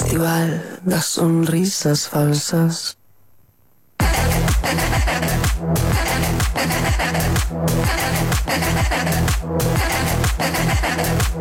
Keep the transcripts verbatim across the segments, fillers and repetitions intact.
festival das sonrisas falsas.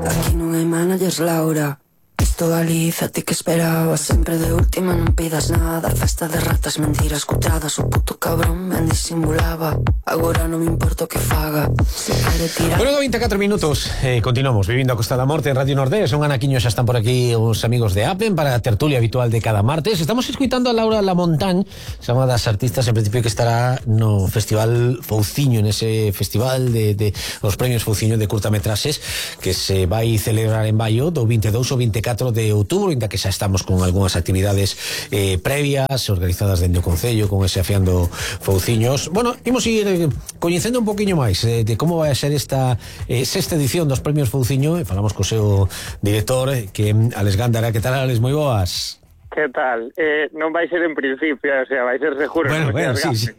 Aquí non hai managers, Laura. Isto Galiza, ti que esperabas. Sempre de última, non pidas nada. Festa de ratas, mentiras cutradas. O puto cabrón ben disimulaba. Agora non me importa o que faga. Se quere tirar... Bueno, vinte e catro minutos, eh, continuamos vivindo a Costa da Morte en Radio Nordés. Un anaquiño, xa están por aquí os amigos de Apen para a tertulia habitual de cada martes. Estamos escuitando a Laura Lamontañ, xa unha das artistas en principio que estará no Festival Fouciño, nese festival de, de os premios Fouciño de curtametraxes que se vai celebrar en Baio do vinte e dous ao vinte e catro de outubro, inda que xa estamos con algunhas actividades eh, previas organizadas dentro do Concello con ese Afiando Fouciños. Bueno, imos ir eh, coñecendo un poquinho máis eh, de como vai a ser esta eh, sexta edición dos premios Fouciño e falamos co seu director eh, que Alex Gándara. Que tal, Alex? Moi boas. Que tal? Eh, non vai ser en principio, o sea, vai ser seguro. Bueno, bueno, sí, sí.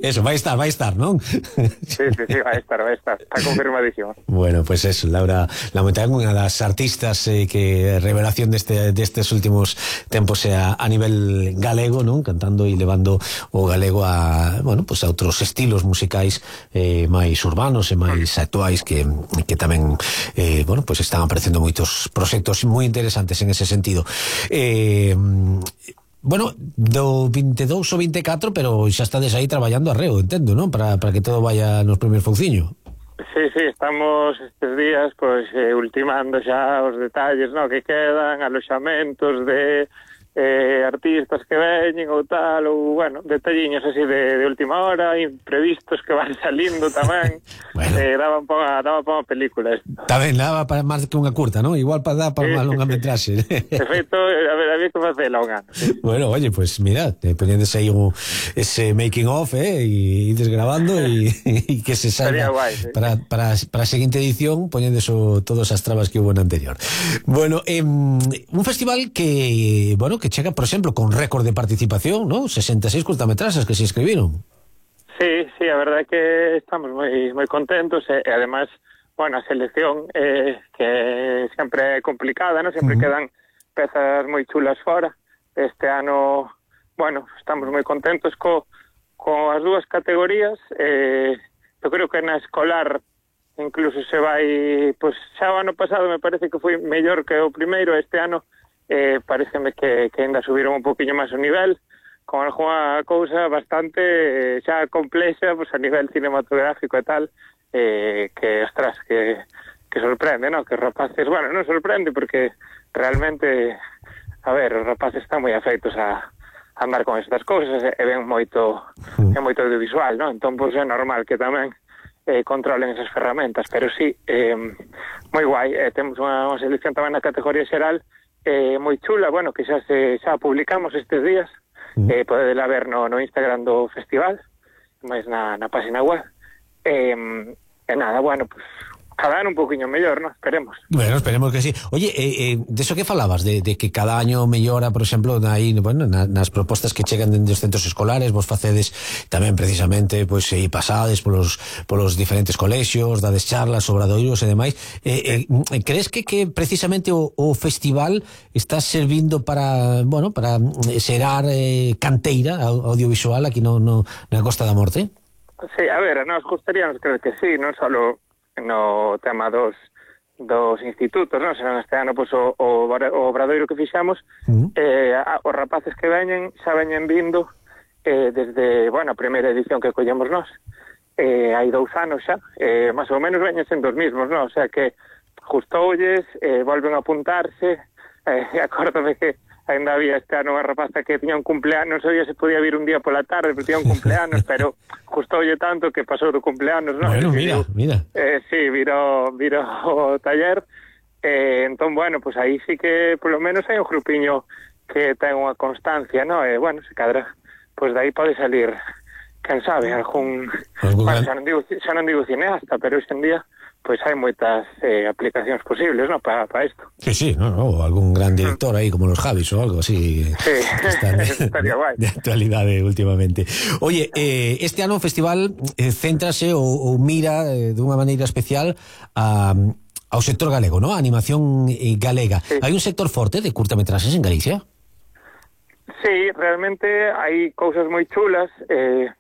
Eso, vai estar, vai estar, non? Sí, sí, sí, vai estar, vai estar. Está confirmadísimo. Bueno, pues eso, Laura Lamontañ, unha das artistas eh, que revelación deste destes últimos tempos a, a nivel galego, non? Cantando e levando o galego a, bueno, pues a outros estilos musicais eh, máis urbanos e máis actuais que, que tamén eh, bueno, pues están aparecendo moitos proxectos moi interesantes en ese sentido. Eh, bueno, do vinte e dous ao vinte e catro, pero xa estades aí traballando arreo, entendo, non? Para, para que todo vaya nos premios Fouciño. Sí, sí, estamos estes días pois eh, ultimando xa os detalles, no, que quedan, aloxamentos de eh, artistas que veñen ou tal, ou, bueno, detalliños así de, de última hora, imprevistos que van salindo tamén. Bueno. Eh, daba un pouco, daba para unha película isto. Tamén daba para máis que unha curta, non? Igual para dar para sí, unha longa metraxe. De feito, a ver, había que facela un ano. Sí. Bueno, oye, pues mira, te poñéndose aí un, ese making of, eh, e ides grabando e que se salga guay, sí. para, para, para a seguinte edición poñéndose todas as trabas que hubo na anterior. Bueno, eh, un festival que, bueno, que chega, por exemplo, con récord de participación, ¿no? sesenta e seis curtametraxes que se inscribiron. Sí, sí, a verdade é que estamos moi moi contentos e, e además, bueno, a selección eh, que sempre é complicada, ¿no? Sempre uh-huh. quedan pezas moi chulas fora. Este ano, bueno, estamos moi contentos co, co as dúas categorías. Eh, eu creo que na escolar incluso se vai, pues xa o ano pasado me parece que foi mellor que o primeiro. Este ano eh, pareceme que, que ainda subiron un poquinho máis o nivel, con alguna cousa bastante eh, xa complexa, pues a nivel cinematográfico e tal, eh, que, ostras, que, que sorprende, ¿no? Que os rapaces, bueno, non sorprende porque realmente, a ver, os rapaces están moi afeitos a, a andar con estas cousas e, e ven moito, é moito audiovisual, ¿no? Entón, pues é normal que tamén eh, controlen esas ferramentas, pero sí, eh, moi guai, eh, temos unha, unha selección tamén na categoría xeral eh, moi chula, bueno, que xa se xa publicamos estes días, mm. eh, podedela ver no, no Instagram do festival, máis na, na página web, eh, e nada, bueno, pues cada ano un poquinho mellor, ¿no? Esperemos. Bueno, esperemos que sí. Oye, eh, eh, de eso que falabas, de, de que cada año mellora, por exemplo, aí, bueno, na, nas propostas que chegan dende os centros escolares, vos facedes tamén precisamente, pois, pues, e pasades polos, polos diferentes colexios, dades charlas, obradoiros e demais. Eh, eh, crees que, que precisamente o, o festival está servindo para, bueno, para xerar eh, canteira audiovisual aquí no, no, na Costa da Morte? Sí, a ver, nos gustaríamos creer que sí, non solo no tema dos dos institutos, non? Senón este ano, pois, o, o, o obradoiro que fixamos, uh-huh. eh, a, os rapaces que veñen xa veñen vindo eh, desde, bueno, a primeira edición que collemos nós, eh, hai dous anos xa, eh, máis ou menos veñen sendo os mismos, non? O sea que justoulles, eh, volven a apuntarse, eh, acórdame que ainda había este ano unha rapaza que tiña un cumpleaños, non sabía se podía vir un día pola tarde, pero tiña un cumpleaños, pero gustoulle tanto que pasou do cumpleaños, non? Bueno, mira, mira. Eh, sí, virou, virou o taller, eh, entón, bueno, pues aí sí que, polo menos, hai un grupiño que ten unha constancia, non? E, eh, bueno, se cadra, pues de aí pode salir, quen sabe, algún... Bueno, xa non digo, xa non digo cineasta, pero hoxe en día pois hai moitas eh, aplicacións posibles, ¿no? Para pa isto. Sí, sí, no, no, algún gran director aí como los Javis ou algo así. Sí, estaría guai. De actualidade últimamente. Oye, eh, este ano o festival eh, céntrase ou, ou mira eh, dunha maneira especial a ao sector galego, ¿no? A animación eh, galega. Sí. Hai un sector forte de curtametraxes en Galicia? Sí, realmente hai cousas moi chulas. Eh,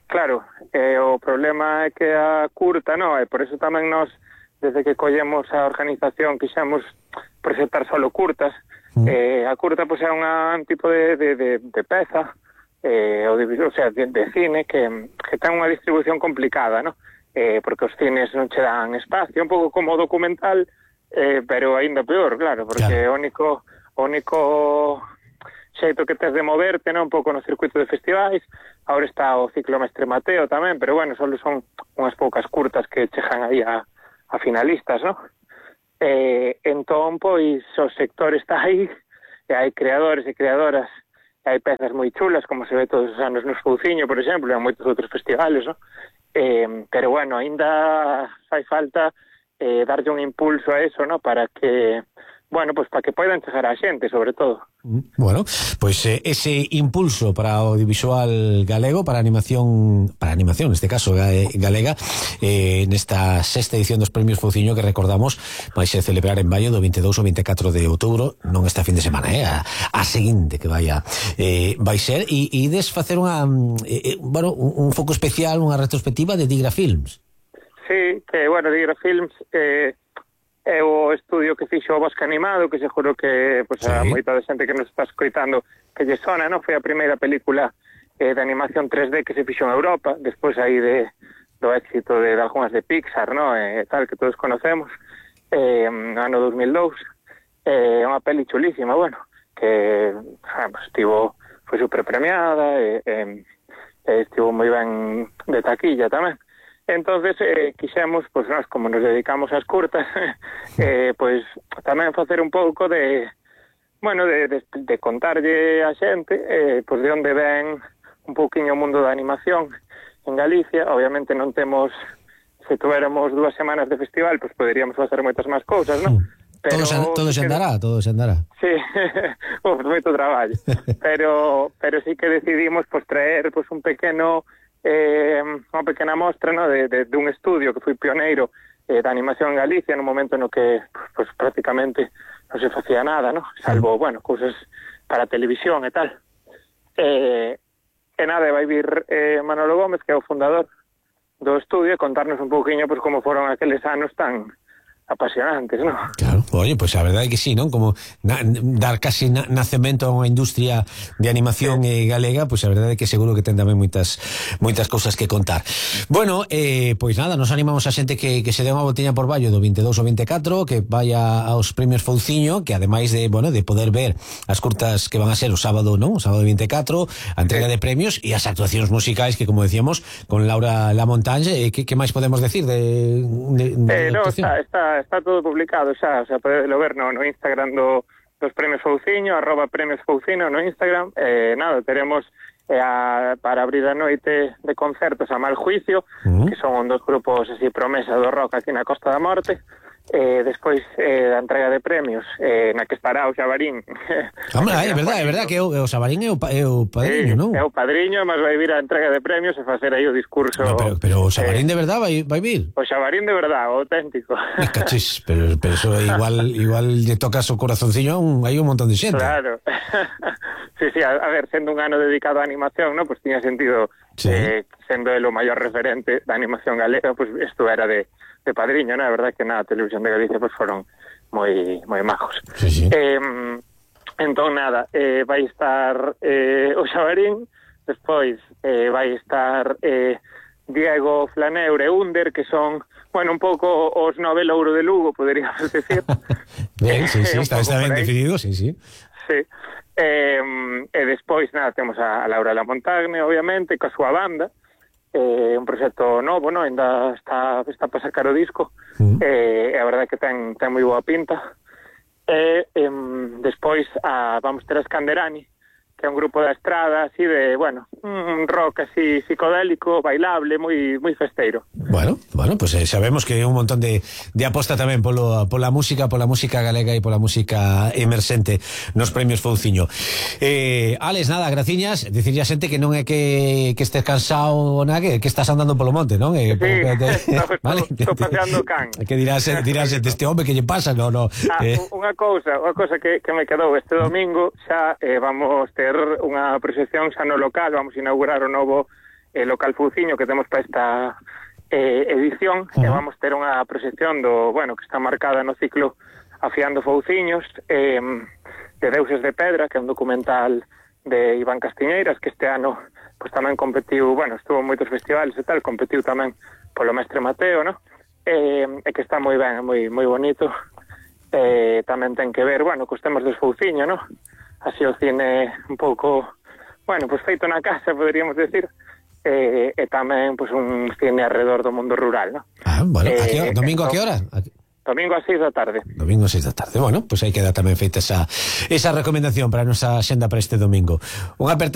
claro, eh, o problema é que a curta, no, e por eso tamén nos, desde que collemos a organización, quixemos presentar solo curtas. Mm. Eh, a curta, pois, é un tipo de, de, de, de peza, eh, o, de, o sea, de, de cine que, que ten unha distribución complicada, no? Eh, porque os cines non che dan espacio, un pouco como documental, eh, pero aínda peor, claro, porque claro. o único o único xeito que tes de moverte, non, un pouco no circuito de festivais. Agora está o ciclo Mestre Mateo tamén, pero bueno, só son unhas poucas curtas que chegan aí a, a finalistas, non? Eh, entón, pois, o sector está aí, e hai creadores e creadoras, e hai pezas moi chulas, como se ve todos os anos no Fouciño, por exemplo, e en moitos outros festivales, non? Eh, pero bueno, ainda fai falta eh, darlle un impulso a eso, ¿no? Para que, bueno, pues para que poidan chegar a xente, sobre todo. Bueno, pois pues, eh, ese impulso para o audiovisual galego, para a animación, para a animación, neste caso galega, eh, nesta sexta edición dos Premios Fouciño que recordamos vai ser celebrar en maio do veintidós ao veinticuatro de outubro, non esta fin de semana, eh, a, a seguinte que vai a, eh, vai ser, e ides facer unha, eh, bueno, un, un foco especial, unha retrospectiva de Digra Films. Sí, que, bueno, Digra Films eh, é o estudio que fixo o Bosque Animado, que seguro que pues, sí. a moita de xente que nos está escoitando que lle sona, non? Foi a primeira película eh, de animación tres D que se fixo en Europa, despois aí de, do éxito de, de algunhas de Pixar, non? Eh, tal, que todos conocemos, eh, no ano dos mil dous. É eh, unha peli chulísima, bueno, que ah, pues, estivo, foi super premiada, e eh, eh, estivo moi ben de taquilla tamén. Entonces, eh, quixemos, pois, nós, como nos dedicamos ás curtas, eh, pois, tamén facer un pouco de, bueno, de, de, de contarlle a xente, eh, pois, de onde ven un pouquiño o mundo da animación en Galicia. Obviamente non temos, se tuéramos dúas semanas de festival, pois poderíamos facer moitas máis cousas, non? Pero, todo, se, todo se andará, todo se andará. Sí, uf, moito traballo. pero, pero sí que decidimos, pois, traer, pois, un pequeno... Eh, unha pequena mostra, no, de, de, de un estudio que foi pioneiro eh, da animación en Galicia no momento no que pues, prácticamente non se facía nada, no? Salvo, bueno, cousas para televisión e tal. Eh, e nada, vai vir eh, Manolo Gómez, que é o fundador do estudio, e contarnos un pouquiño pues, como foron aqueles anos tan apasionantes, ¿no? Claro, oye, pues a verdade é que sí, non? Como na, dar casi na, nacemento a unha industria de animación sí. eh, galega, pues a verdade é que seguro que ten tamén moitas moitas cousas que contar. Bueno, eh, pois nada, nos animamos a xente que, que se dé unha voltiña por Vallo do veintidós ao veinticuatro, que vaya aos Premios Fouciño, que ademais de, bueno, de poder ver as curtas que van a ser o sábado, non? O sábado veinticuatro, a entrega sí. de premios e as actuacións musicais que, como decíamos, con Laura Lamontagne, eh, que, que máis podemos decir de, de, de eh, no, está, está está todo publicado xa, o sea, podelo ver no, no Instagram do, dos Premios Fouciño, arroba Premios Fouciño no Instagram. Eh, nada, teremos eh, a, para abrir a noite de concertos a Mal Juicio, uh-huh. que son dos grupos así promesa do rock aquí na Costa da Morte. Eh, despois eh, da entrega de premios eh, na que estará o Xabarín. Hombre, é verdade, é verdade que o, o Xabarín é o, é o padriño, sí, non? É o padriño, mas vai vir a entrega de premios e facer aí o discurso. No, pero, pero o Xabarín eh, de verdade vai, vai vir? O Xabarín de verdade, o auténtico. Me cachis, pero, pero eso igual igual lle tocas o corazoncillo, un, hai un montón de xente. Claro. Sí, sí, a, a ver, sendo un ano dedicado á animación, ¿no? Pues tiña sentido, sí. eh, sendo el o maior referente da animación galega, pues isto era de de padriño, ¿no? A verdade que na Televisión de Galicia pues foron moi moi majos. Sí, sí. Eh, entón, nada, eh, vai estar eh, o Xabarín, despois eh, vai estar eh, Diego Flaneure e Under, que son, bueno, un pouco os Nobel Ouro de Lugo, poderíamos decir. Ben, sí, sí, está, está ben definido, sí, sí. Sí. Eh, e despois, nada, temos a Laura Lamontagne, obviamente, coa súa banda, eh, un proxecto novo, no? Ainda está, está para sacar o disco, mm. eh, e a verdade que ten, ten moi boa pinta. E eh, despois a, vamos ter a Scanderani, que é un grupo da estrada, así de, bueno, un rock así psicodélico, bailable, moi moi festeiro. Bueno, bueno, pues eh, sabemos que hai un montón de, de aposta tamén polo, pola música, pola música galega e pola música emerxente nos premios Fouciño. Eh, Alex, nada, graciñas, dicirlle a xente que non é que, que estés cansado nada, que, que estás andando polo monte, non? Eh, sí, te, estou, vale? estou paseando can. Que dirás, dirás este home que lle pasa, no, no. Ah, eh. unha cousa, unha cousa que, que me quedou este domingo, xa eh, vamos ter unha proxección xa no local, vamos a inaugurar o novo eh, local Fouciño que temos para esta eh, edición, uh-huh. e vamos ter unha proxección do, bueno, que está marcada no ciclo Afiando Fouciños, eh, de Deuses de Pedra, que é un documental de Iván Castiñeiras, que este ano pues tamén competiu, bueno, estuvo en moitos festivales e tal, competiu tamén polo Mestre Mateo, no? E, e que está moi ben, moi moi bonito. Eh, tamén ten que ver, bueno, cos temas dos Fouciño, no? Así o cine un pouco, bueno, pues feito na casa, poderíamos decir, eh, e tamén pues un cine alrededor do mundo rural, no? Ah, bueno, eh, a que, domingo a que hora? A... Domingo a seis da tarde. Domingo a seis da tarde. Bueno, pues aí queda tamén feita esa, esa recomendación para a nosa xenda para este domingo. Unha aperta